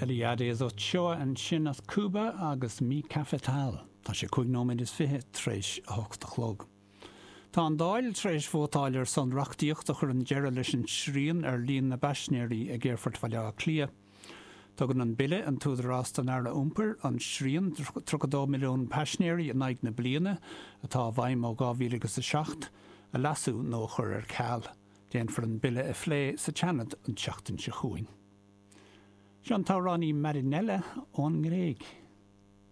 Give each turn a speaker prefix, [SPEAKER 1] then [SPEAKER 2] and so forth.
[SPEAKER 1] Eliades Ochoa ansin as Cúba agus Mi Cafetal. Tá sé 25 nóiméad tar éis a hocht a chlog. Tá an Dáil tar éis vótáil ar son reachtaíocht a chuireann deireadh leis an srian ar líon na bpaisinéirí ag Aerfort Bhaile Átha Cliath. Tugann an bille an t-údarás don Aire Iompair an srian 32 milliún paisinéirí in aghaidh na bliana, atá i bhfeidhm ó 2007, a leasú nó a chur ar ceal. Déanfar an bille a phlé sa tSeanad an tseachtain seo chugainn. Seo an t-amhránaí Marinella ón nGréig.